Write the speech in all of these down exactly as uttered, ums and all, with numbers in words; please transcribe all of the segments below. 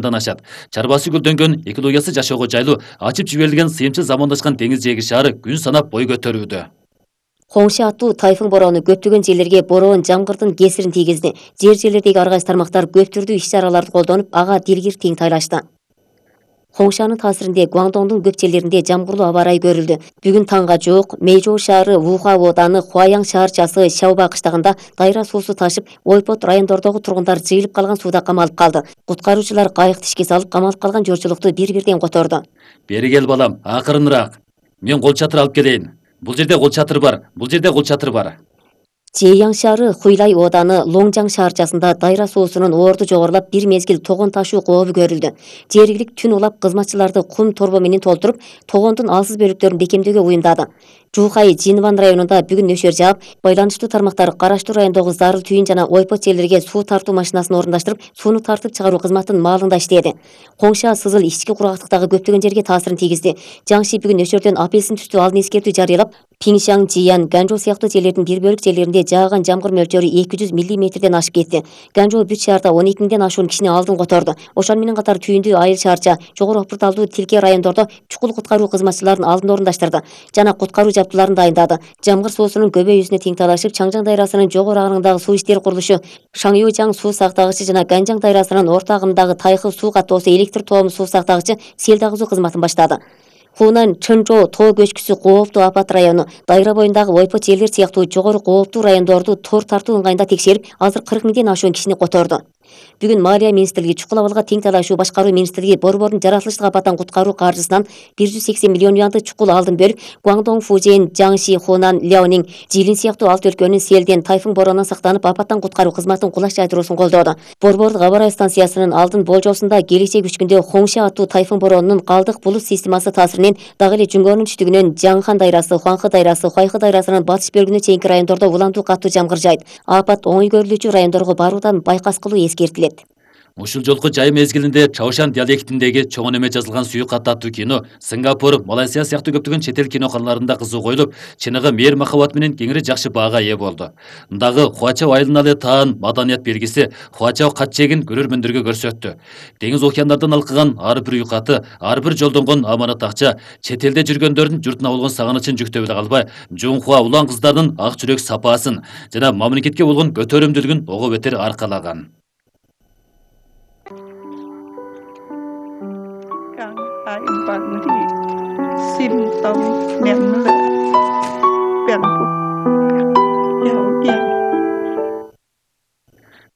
ашат. Чарбасы гүлдөнгөн, экологиясы жашоого жайлуу, ачып жиберилген сыйымчыл замандашкан деңиз жээги шаары күн санап бой көтөрүүдө. Коңшу аттуу тайфун бороону көптөгөн жерлерге бороон жамгырдын кесирин тийгизди. Жер жерлердеги ар кайсы тармактар көп түрдүү иш-чараларды колдонуп, ага дилгир тең тайлашты. Коңшанын таасиринде Гуандоңдун көп жерлеринде жамгырлуу аба ырайы көрүлдү. Бүгүн таңга жок Мэйжоу шаары, Вуха ооданы, Хуаяң шаарчасы, Шаоба кыштагында дайра суусу ташып, Ойпот райондордогу тургундар жыйылып калган сууда камалып калды. Куткаруучулар кайыкты ишке салып, камалып калган журчулукту бир-бирден которду. Бери кел балам, акырыныраак. Мен кол чатыр алып келейин. Бул жерде кол чатыр бар, бул жерде кол чатыр бар. Жэяң шаары, Хуйлай ооданы, Лоңжаң шаарчасында дайра суусунун оорду жогорулап, бир мезгил тогон ташуу кообу көрүлдү. Жергилик түн улап кызматчыларды кум торбо менен толтуруп, тогондун алсыз бөлүктөрүн бекемдөөгө уюмдады. Жухай Жинван районунда бүгүн нөшөр жаап, байланыштуу тармактар Караштуу райондогу Зарыл түйүн жана Ойпот жерлерге суу тартуу машинасын орундаштырып, сууну тартып чыгаруу кызматын маалында иштеди. Коңша Сызыл ички кургактыктагы көптөгөн жерге таасирин тийгизди. Жаңши бүгүн нөшөрдөн апельсин түстүү алдын эскертүү жарыялап, Пиңшаң, Жиян, Ганжоо сыяктуу жерлердин бир бөлүк жерлеринде жааган жамгыр мөлчөрү эки жүз миллиметрден ашып кетти. Ганжоо бүт шаарда он эки миңден ашуун кишини алдын которду. Ошон менен катар Түйүндүү, Айыл шаарча, Жогору Опурталдуу, Тилке райондордо чукул куткаруу кызматчыларын алдын орундаштырды жана куткаруу жабдууларын дайындады. Жамгыр суусунун көбөйүүсүнө тең талашып, Чаңжаң дайрасынын жогору агымдагы суу иштери курулушу, Шаңюжаң суу сактагычы жана Ганжаң дайрасынын орто агымдагы Тайхы суу каттоосу электр тоом суу сактагычы сел дагызуу кызматын баштады. Хунан, Чынчоо, Тоо көчкүсү кооптуу апат району, дайра боюндагы Ойпот жерлер сыяктуу жогору кооптуу райондорду тор тартуу ыңгайында текшерип, азыр кырк миңден ашуун кишини которду. Бүгүн Малия министрлиги, чукул абалга тең талашуу башкаруу министрлиги Борбордун жаратылыштык апаттан куткаруу каржысынан бир жүз сексен миллион юанды чукул алдын бөлүп, Гуандоң, Фужен, Жаңши, Хунан, Ляонинг, Жилин сыяктуу алты өлкөнүн селден, тайфун бороонунан сактанып, апаттан куткаруу кызматын кулаш жайдыруусун колдоду. Борбордук аба ырайы станциясынын алдын болжоосунда келечек үч күндө Хоңша аттуу тайфун бороонунун калдык булут системасы таасиринен дагы эле Жүнгөрдүн түштүгүнөн Жаңхан дайрасы, Хуаңхы дайрасы, Хуайхы дайрасынын батыш бөлүгүнө чейинки райондордо уламдуу катуу жамгыр жайт. Апат оңой көрүлүүчү райондорго баруудан байкас кылуу эскертилет. Ушул жолку жай мезгилинде Чаошан диалектиндеги чоң неме жазылган сүйүк аттуу кино Сингапур, Малайзия сыяктуу көптөгөн чет эл киноканаларында кызуу коюлуп, чыныгы мээр махабат менен кеңири жакшы баага ээ болду. Мындагы Хуачао айылына таан маданият белгиси Хуачао катчегин көрөрмөндөргө көрсөттү. Деңиз океандардан алкыган ар бир уйкаты, ар бир жолдонгон аманат акча, чет элде жүргөндөрдүн журтуна болгон сагынычын жүктөп эле калбай, Жунхуа улан кыздардын ак жүрөк сапаасын жана мамлекетке болгон көтөрүмдүүлүгүн ого бетер аркалаган. Bằng thì xin tông nhắm là bèn phục nhau kia.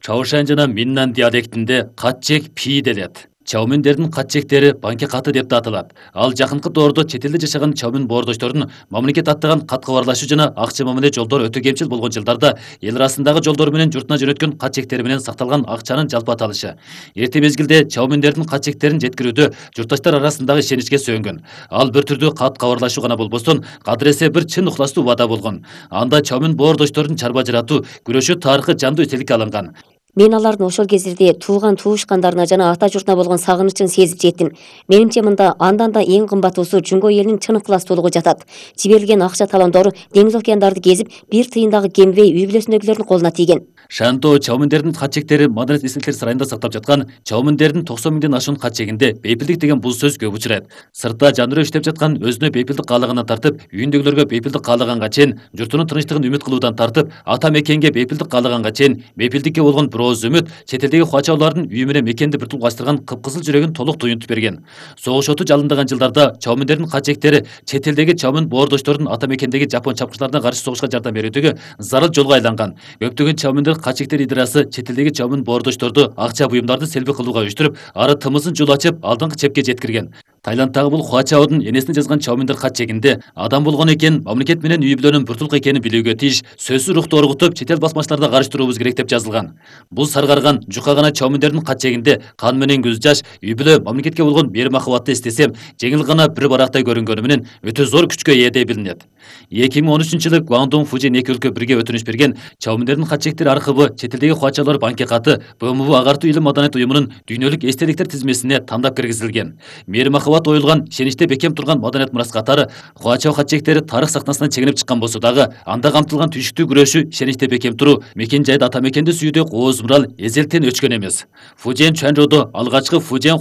Чаошан жана Миннан диалектинде катчек пи делет. Чаоминдердин катчектери банке каты деп да аталат. Ал жакынкы доордо чет элде жашаган чаомин боордоштордун мамлекет аттаган кат кабарлашуу жана акча мамиле жолдор өтө кемчил болгон жылдарда эл арасындагы жолдор менен журтуна жөнөткөн катчектери менен сакталган акчанын жалпы аталышы. Эрте мезгилде чаоминдердин катчектерин жеткирүүдө журтташтар арасындагы ишеничке сөөнгөн. Ал бир түрдүү кат кабарлашуу гана болбостон, кадыресе бир чын ухластуу убада болгон. Анда чаомин боордоштордун чарба жаратуу, күрөшүү тарыхы жандуу эстеликке алынган. Мен алардын ошол кездерде тууган туушкандарына жана ата журтуна болгон сагынычын сезип жеттим. Менимче мында андан да эң кымбаттуусу Жунго элинин чын ыктыластуулугу жатат. Жиберилген акча талондору деңиз океандарды кезип, бир тыйындагы кембей үй бүлөсүндөгүлөрдүн колуна тийген. Шанто чаоминдердин катчектери маданият эстеликтер сарайында сактап жаткан чаоминдердин токсон миңден ашуун катчегинде бейпилдик деген бул сөз көп учурайт. Сыртта жандыруу иштеп жаткан өзүнө бейпилдик каалагандан тартып, үйүндөгүлөргө бейпилдик каалаганга чейин, журтунун тынчтыгын үмүт кылуудан тартып, ата мекенге бейпилдик каалаганга чейин, бейпилдикке болгон бирөөз үмүт чет элдеги хуачаолордун үй менен мекенди биртукташтырган кыпкызыл жүрөгүн толук туюнтуп берген. Согуш оту жалындаган жылдарда чаоминдердин катчектери чет элдеги чаомин боордоштордун ата мекендеги жапон чапкычыларына каршы согушка жардам берүүдөгө зарыл жолго айланган. Көптөгөн чаоминдер катчектер идирасы чет элдеги чаомин боордошторду акча буюмдарды селби кылууга уюштуруп, ары тымызын жол ачып, алдыңкы чепке жеткирген. Тайландтагы бул Хуачаодун энесине жазган чаоминдер катчегинде адам болгон экен, мамлекет менен үй бүлөнүн биртулук экенин билүүгө тийиш, сөзсүз рухту оргутуп, чет эл басмачыларына каршы туруубуз керек деп жазылган. Бул саргарган, жука гана чаоминдердин катчегинде кан менен көз жаш, үй бүлө, мамлекетке болгон мээр махабатты эстесем, жеңил гана бир барактай көрүнгөнү менен өтө зор күчкө ээ деп билинет. эки миң он үчүнчү жылы Гуандоң, Фужен эки өлкө бирге өтүнүш берген чаоминдердин катчектери архивы чет элдеги хуачалар банке каты Б М В агартуу илим маданият уюмунун дүйнөлүк эстеликтер тизмесине тандап киргизилген. Мээр махабат оюлган, ишеничте бекем турган маданият мурас катары Хуачао катчектери тарых сахнасынан чегинип чыккан болсо дагы, анда камтылган түйшүктүү күрөшүү, ишеничте бекем туруу, мекен жайды ата мекенди сүйүүдө кооз мурал эзелтен өчкөн эмес. Фужен Чуанчжоодо алгачкы Фужен